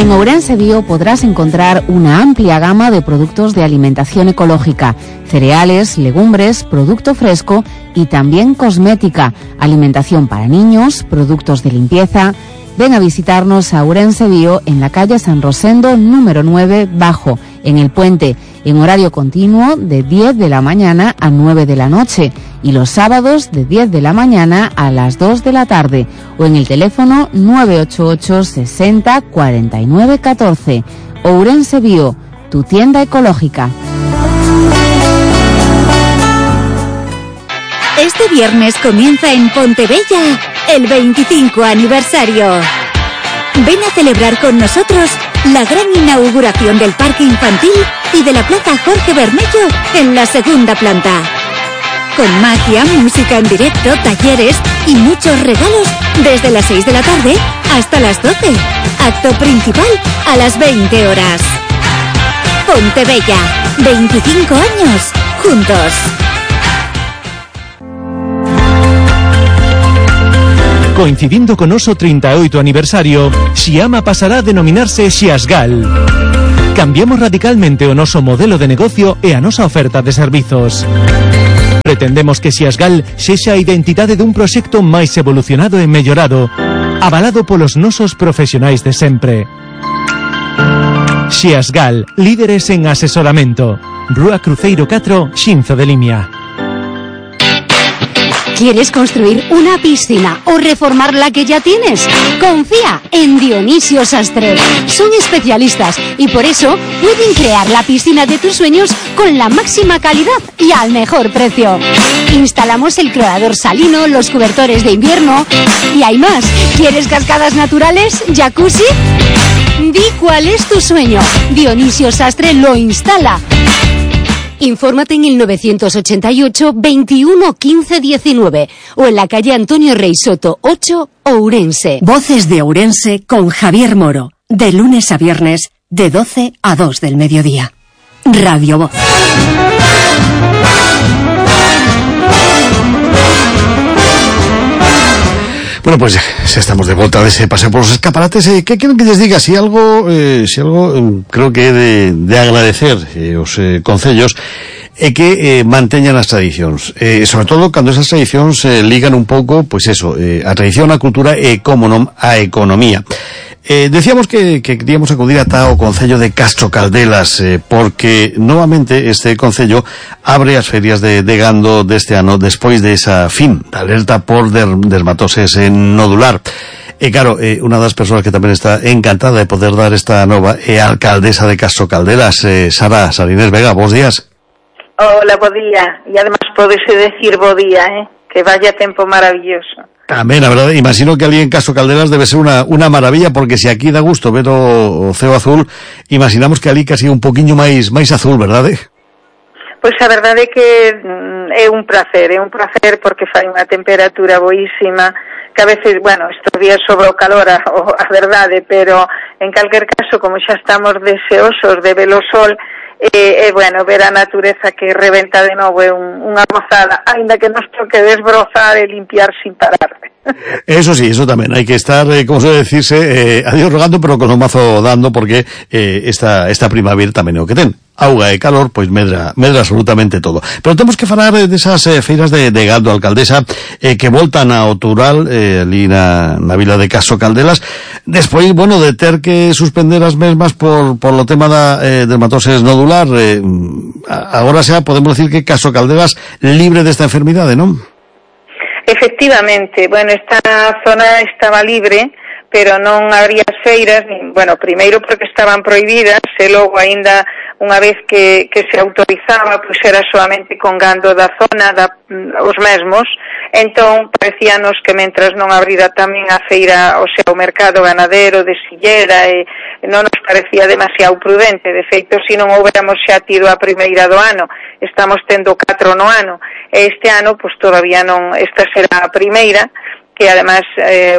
En Ourense Bio podrás encontrar una amplia gama de productos de alimentación ecológica, cereales, legumbres, producto fresco y también cosmética, alimentación para niños, productos de limpieza. Ven a visitarnos a Ourense Bio en la calle San Rosendo número 9 Bajo, en el Puente, en horario continuo de 10 de la mañana a 9 de la noche y los sábados de 10 de la mañana a las 2 de la tarde o en el teléfono 988 60 49 14. Ourense Bio, tu tienda ecológica. Este viernes comienza en Pontebella el 25 aniversario. Ven a celebrar con nosotros la gran inauguración del Parque Infantil y de la Plaza Jorge Bermello en la segunda planta. Con magia, música en directo, talleres y muchos regalos desde las 6 de la tarde hasta las 12. Acto principal a las 20 horas. Pontebella, 25 años juntos. Coincidindo con noso 38 aniversario, Xiama pasará a denominarse Xiasgal. Cambiamos radicalmente o noso modelo de negocio e a nosa oferta de servizos. Pretendemos que Xiasgal sexa a identidade dun proxecto máis evolucionado e mellorado, avalado polos nosos profesionais de sempre. Xiasgal, líderes en asesoramento. Rúa Cruceiro 4, Xinzo de Limia. ¿Quieres construir una piscina o reformar la que ya tienes? Confía en Dionisio Sastre. Son especialistas y por eso pueden crear la piscina de tus sueños con la máxima calidad y al mejor precio. Instalamos el clorador salino, los cobertores de invierno y hay más. ¿Quieres cascadas naturales? ¿Jacuzzi? Di cuál es tu sueño. Dionisio Sastre lo instala. Infórmate en el 988 21 15 19 o en la calle Antonio Rey Soto 8, Ourense. Voces de Ourense con Javier Moro, de lunes a viernes, de 12 a 2 del mediodía. Radio Voz. Bueno, pues ya estamos de vuelta de ese paseo por los escaparates. ¿Qué quiero que les diga? Si algo creo que he de agradecer os concellos que manteñan as tradicións, sobre todo cando esas tradicións ligan un pouco, pois eso, a tradición, a cultura e, como non, a economía. Decíamos que queríamos acudir ata o Concello de Castro Caldelas, porque novamente este Concello abre as ferias de gando deste ano despois de esa fin da alerta por dermatoses nodular. E claro, unha das persoas que tamén está encantada de poder dar esta nova é a alcaldesa de Castro Caldelas, Sara Inés Vega. Bos días. Hola, bo día. E además podese decir bo día, que vaya tempo maravilloso. Tamén, a verdade, imagino que ali en Castro Caldelas debe ser unha maravilla, porque se aquí dá gusto ver o ceo azul, imaginamos que ali casi un poquinho máis azul, verdade? Pois a verdade é que é un placer porque fai unha temperatura boísima, que a veces, bueno, estes días sobre o calor, a verdade, pero en calquer caso, como xa estamos deseosos de ver o sol, bueno, ver a natureza que rebenta de novo é unha gozada, ainda que nos toque desbrozar e limpiar sin parar. Eso sí, eso tamén, hai que estar, como suele decirse, a Dios rogando, pero con o mazo dando, porque esta primavera tamén é o que ten. Auga e calor, pois medra absolutamente todo. Pero temos que falar desas feiras de gando, alcaldesa, que voltan ao Toural, ali na vila de Castro Caldelas, despois, bueno, de ter que suspender as mesmas por lo tema da dermatoses nodular. Agora xa podemos decir que Castro Caldelas libre desta enfermidade, non? Efectivamente, bueno, esta zona estaba libre, pero non habría feiras, bueno, primeiro porque estaban prohibidas, e logo aínda unha vez que se autorizaba, pois era solamente con gando da zona, os mesmos. Entón, parecíanos que mentras non abrira tamén a feira, o sea, o mercado ganadero de Sillera, non nos parecía demasiado prudente. De feito, se non houbéramos xa tido a primeira do ano, estamos tendo 4 no ano, e este ano, pois todavía non, esta será a primeira, que además,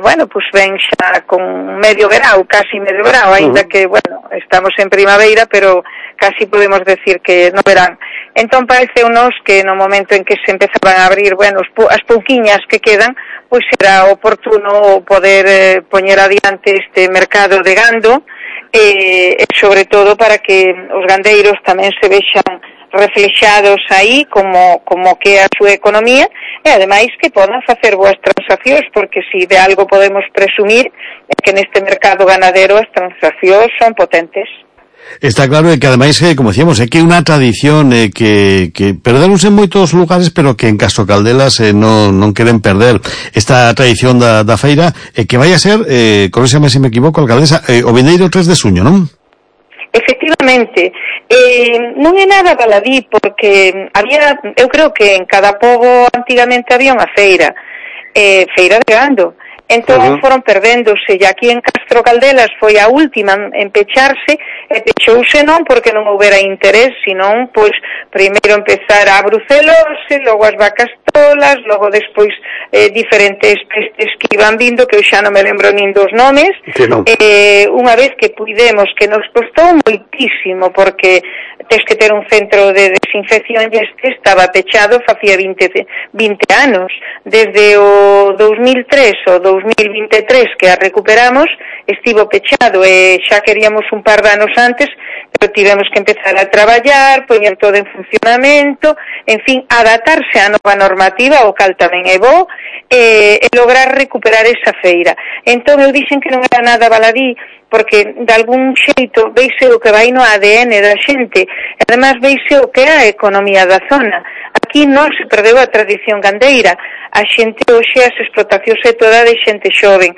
bueno, pues ven xa con medio grau, casi medio grau, ainda que, bueno, estamos en primavera, pero casi podemos decir que no verán. Entón parece unos que no momento en que se empezaban a abrir, bueno, as pouquiñas que quedan, pois era oportuno poder poñer adiante este mercado de gando, e sobre todo para que os gandeiros tamén se vexan reflexados aí como que é a súa economía, e ademais que podan facer boas transaccións, porque si de algo podemos presumir é que neste mercado ganadero as transaccións son potentes. Está claro que ademais, como decíamos, é que é unha tradición que perderonse en moitos lugares, pero que en Castro Caldelas non queren perder esta tradición da feira, que vai a ser, corríxame se me equivoco, alcaldesa, o vindeiro 3 de xuño, non? Efectivamente, non é nada baladí, porque eu creo que en cada pobo antigamente había unha feira de gando. Entón foron perdéndose, e aquí en Castro Caldelas foi a última en pecharse, e pechouse non porque non houbera interés, senón, pois, primeiro empezar a brucelose, logo as vacas tolas, logo despois diferentes pestes que iban vindo, que eu xa non me lembro nin dos nomes, unha vez que puidemos, que nos costou moitísimo, porque tes que ter un centro de desinfección, e este estaba pechado facía 20 anos, desde o 2003 ou 2023 que a recuperamos, estivo pechado, e xa queríamos un par de anos antes, pero tivemos que empezar a traballar, poñer todo en funcionamento, en fin, adaptarse á nova normativa, o cal tamén é bo, e lograr recuperar esa feira. Entón eu dixen que non era nada baladí, porque de algún xeito veise o que vai no ADN da xente, e además veise o que é a economía da zona. Aquí non se perdeu a tradición gandeira, a xente hoxe, as explotacións é toda de xente xoven,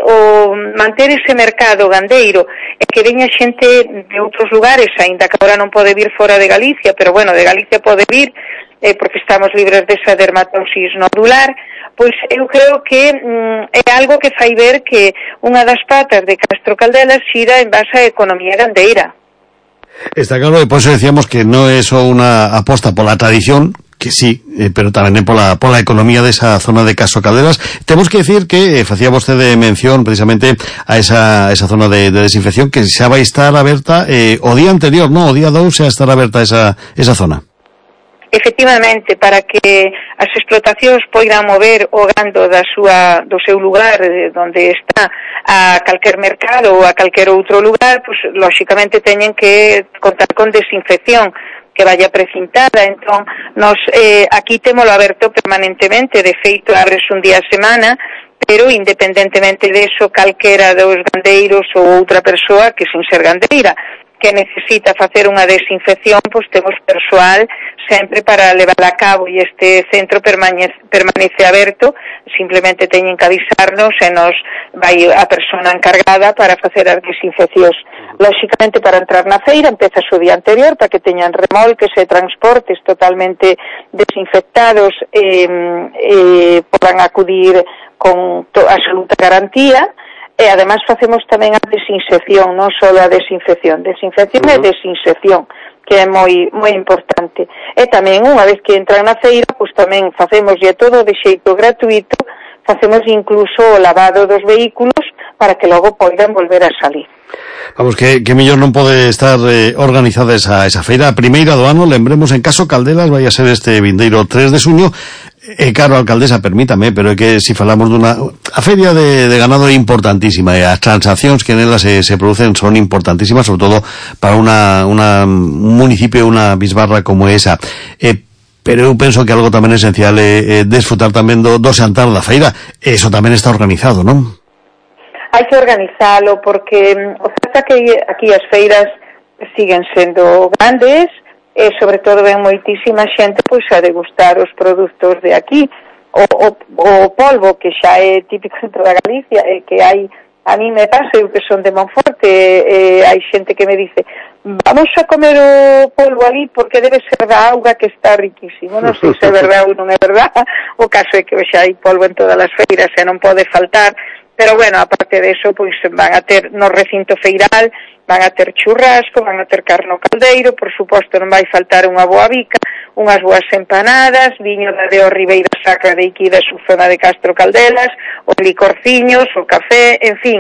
o manter ese mercado gandeiro, e que veña xente de outros lugares, aínda que agora non pode vir fora de Galicia, pero bueno, de Galicia pode vir, porque estamos libres desa dermatosis nodular, pois eu creo que é algo que fai ver que unha das patas de Castro Caldelas xira en base á economía gandeira. Está claro, e por eso decíamos que non é só unha aposta pola tradición, que sí, pero tamén é pola economía desa zona de Castro Caldelas. Temos que decir que facía vostede mención precisamente a esa zona de desinfección que xa vai estar aberta o día anterior, non? O día 2 xa estará aberta esa zona. Efectivamente, para que as explotacións poidan mover o gando do seu lugar, onde está, a calquer mercado ou a calquer outro lugar, pois lóxicamente teñen que contar con desinfección que vaya precintada. Entón, nos aquí témolo aberto permanentemente, de feito abres un día a semana, pero independentemente de eso, calquera dos gandeiros ou outra persoa que sin ser gandeira que necesita facer unha desinfección, pois temos persoal sempre para levar a cabo, e este centro permanece aberto, simplemente teñen que avisarnos e nos vai a persona encargada para facer as desinfeccións. Lóxicamente, para entrar na feira empeza o día anterior para que teñan remolques e transportes totalmente desinfectados e podan acudir con absoluta garantía. E ademais facemos tamén a desinxección, non só a desinfección e desinxección, que é moi importante. E tamén, unha vez que entran na feira, pois tamén facemos todo de xeito gratuito, facemos incluso o lavado dos vehículos para que logo poidan volver a salir. Vamos, que mellor non pode estar organizada esa feira. A primeira do ano, lembremos, en Castro Caldelas vai a ser este vindeiro 3 de xuño. Claro, alcaldesa, permítame, pero é que se falamos a feria de ganado é importantísima, e as transaccións que nelas se producen son importantísimas, sobre todo para un municipio, unha bisbarra como esa. Pero eu penso que algo tamén esencial é desfrutar tamén do xantar da feira. Eso tamén está organizado, non? Hai que organizalo, porque o certo é que aquí as feiras siguen sendo grandes, e sobre todo ven moitísima xente pois a degustar os produtos de aquí, o polvo que xa é típico de toda Galicia, e que hai, a mí me pasa, eu que son de Monforte, hai xente que me dice, vamos a comer o polvo ali porque debe ser da auga, que está riquísimo. Non sei se é verdade ou non é verdade, o caso é que xa hai polvo en todas as feiras e non pode faltar. Pero bueno, aparte de eso, pois van a ter no recinto feiral, van a ter churrasco, van a ter carne caldeiro, por suposto non vai faltar unha boa bica, unhas boas empanadas, viño da de Ribeira Sacra de Iquí da zona de Castro Caldelas, os licorciños, o café, en fin,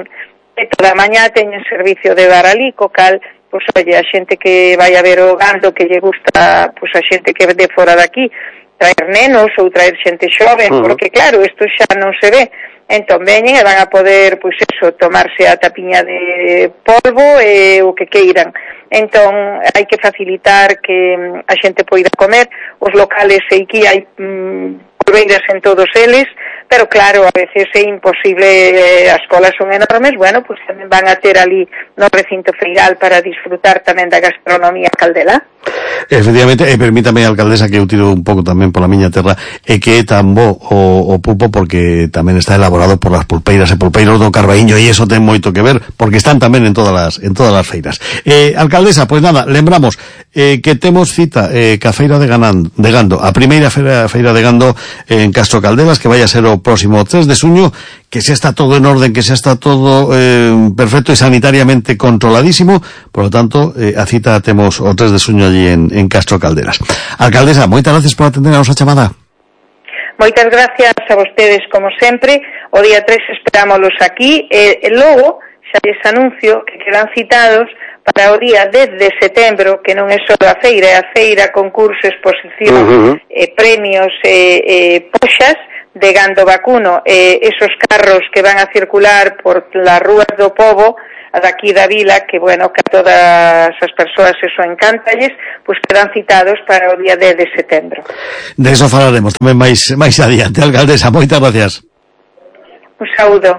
e toda a mañá teñen servicio de bar ali, co cal, pois oye, a xente que vai a ver o gando que lle gusta, pois a xente que de fora daqui, traer nenos ou traer xente xoven, porque claro, isto xa non se ve. entón veñen e van a poder, pois eso, tomarse a tapiña de polvo e o que queiran. Entón, hai que facilitar que a xente poida comer. Os locales aquí hai polveiras en todos eles, pero claro, a veces é imposible, as colas son enormes, bueno, pois tamén van a ter ali no recinto feiral para disfrutar tamén da gastronomía caldelá. Efectivamente, e permítame, alcaldesa, que eu tiro un pouco tamén pola miña terra, e que é tan bo o pulpo porque tamén está elaborado por las pulpeiras e pulpeiros do Carbaíño, e iso ten moito que ver, porque están tamén en todas as feiras. Alcaldesa, pois nada, lembramos que temos cita ca feira de Gando, a primeira feira de Gando en Castro Caldelas, que vai a ser o próximo 3 de xuño, que xa está todo en orden, que xa está todo perfecto e sanitariamente controladísimo, por lo tanto, a cita temos o 3 de xuño allí en Castro Caldelas. Alcaldesa, moitas gracias por atender a nosa chamada. Moitas gracias a vostedes, como sempre. O día 3 esperámoslos aquí, e logo xa les anuncio que quedan citados para o día 10 de setembro, que non é só a feira, é a feira, concurso, exposición, premios e poxas de gando vacuno, esos carros que van a circular por las rúas do pobo, daqui da vila, que bueno, que a todas as persoas eso encántalles, pois quedan citados para o día 10 de setembro. De eso falaremos tamén máis adiante, alcaldesa, moitas gracias. Un saúdo.